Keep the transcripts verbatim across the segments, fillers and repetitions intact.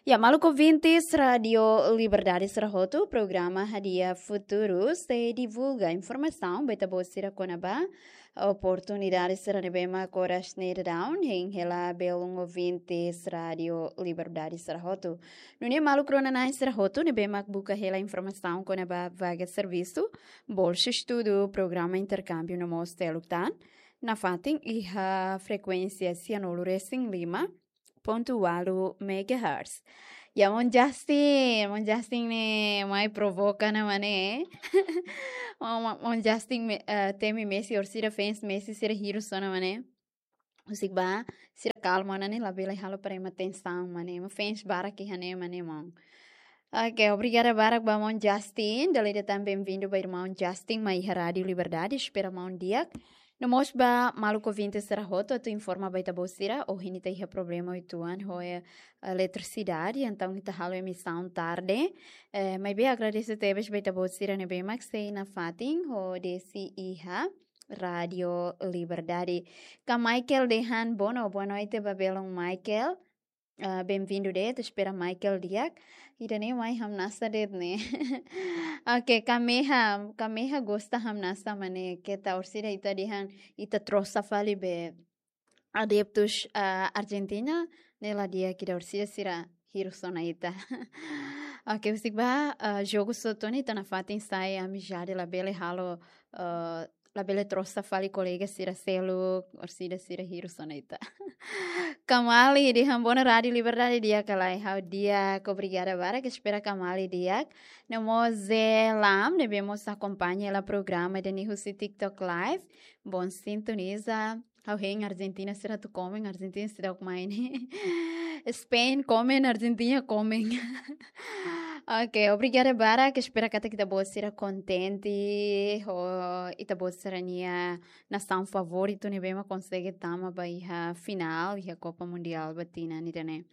Ya, maluk ouvintes Rádio Liberdade sira hotu, programa Hadi'a Futuru sei divulga informasaun ba ita-boot sira kona-ba oportunidade sira ne'ebé mak oras ne'e daudaun hein hela belun ouvintes Rádio Liberdade sira hotu. Nune'e maluk rona-na'in sira hotu ne'ebé mak buka hela informasaun kona-ba vaga servisu, bolsa estudu, programa interkámbiu no mós seluk tan, nafatin iha frekuénsia sianulu resin lima pontu ualu megahertz. Ya, maun Justin, maun Justin ne'e mai provoka ona, maun ne'e. Maun, maun, maun Justin me-, eh, temi Messi, orsida fans Messi sira hirus ona, maun ne'e. Husik ba, sira kalma ona ne'e, labele halo para ema tensaun, maun ne'e. Ema fans barak iha ne'e, maun ne'e, maun. Oke, obrigada barak ba maun Justin. Dala ida tan bem-vindo ba irmaun Justin mai iha Rádio Liberdade. Espera maun di'ak. No mós ba maluk ouvintes sira hotu, atu informa ba ita-boot sira, ohin ita iha problema uitoan ho, eh, eletrisidade, entaun ita halo emisaun tarde. Eh, maibé agradese tebes ba ita-boot sira ne'ebé mak sei nafatin hodi sei iha Rádio Liberdade. Ka Michael dehan bono, boa noite ba belun Michael. Ah, bem-vindo de'it, espera Michael di'ak. Ida-ne'e mai hamnasa de'it ne'e. Oke, ka Meha, ka Meha gosta hamnasa, maun ne'e, keta orsida ita dehan, ita trosa fali be adeptus, ah, Argentina, ne'e la di'ak ida, orsida sira hirus ona ita. Oke, husik ba, ah, jogu sira hotu ne'e ita nafatin sai amizade, labele halo, ah, labele trosa fali kolega sira seluk, orsida sira hirus ona ita. Ka Mali dehan bono Rádio Liberdade di'ak ka lae, ha'u di'ak, obrigada barak, espera ka Mali di'ak. No mós Zé Lam, ne'ebé mós akompaña hela programa ida-ne'e husi TikTok Live. Bom sintoniza. Ha'u hein Argentina sira atu komen, Argentina seidauk mai ne'e. Spain komen, Argentina komen. Oke, obrigada barak, espera katak ita-boot sira kontente ho ita-boot sira-nia nasaun favoritu ne'ebé mak konsege tama ba iha finál iha Copa Mundial ba tinan ida-ne'e.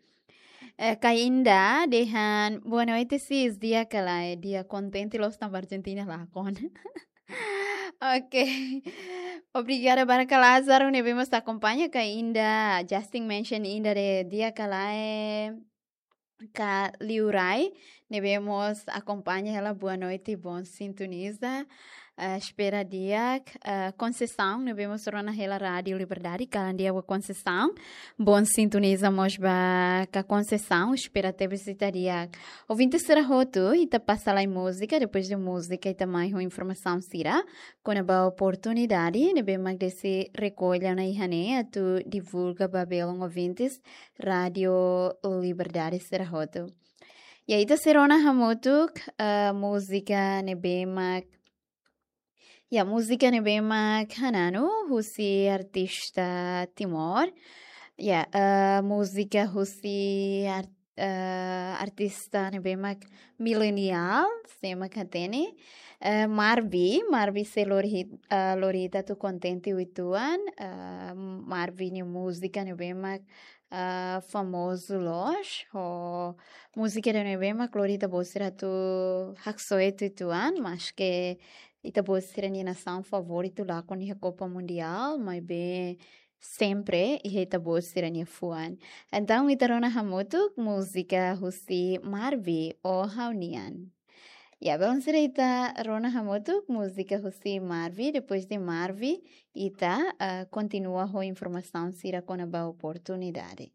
Eh, ka Inda dehan, boa noite, sis, di'ak ka lae, di'ak, kontente loos tanba Argentina lakon. Oke. Obrigada barak ka Lázaro ne'ebé mós akompaña, ka Inda, Justin mention Inda dehan di'ak ka lae, ka Liurai ne'ebé mós akompaña hela, boa noite, bom sintoniza. Eh, espera di'ak, eh, Conceição ne'ebé mós rona hela Rádio Liberdade, kalan di'ak ba Conceição. Bom sintoniza mós ba ka Conceição, espera tebes ita di'ak. Ouvintes sira hotu, ita pasa lai múzika, depois de múzika ita mai ho informasaun sira kona-ba oportunidade ne'ebé mak Desi rekolla ona iha ne'e atu divulga ba belun ouvintes Rádio Liberdade sira hotu. Ya, ita sei rona hamutuk, eh, múzika ne'ebé mak, ya, múzika ne'ebé mak hananu husi artista Timor. Ya, eh, múzika husi ar-, eh, artista ne'ebé mak milenial, sé mak hatene. Eh, Marvi, Marvi sei lori hit-, eh, lori ita atu kontente uitoan. Eh, Marvi nia múzika ne'ebé mak, eh, famozu loos. Ho múzika ida ne'ebé mak lori ita-boot sira atu haksoit uitoan, maske ita-boot sira-nia nasaun favoritu lakon iha Copa Mundial, maibé sempre iha ita-boot sira-nia fuan. Entaun, ita rona hamutuk múzika husi Marvi, Ó Ha'u-Nian. Ya, belun sira, ita rona hamutuk múzika husi Marvi, depois de Marvi, ita, ah, kontinua ho informasaun sira kona-ba oportunidade.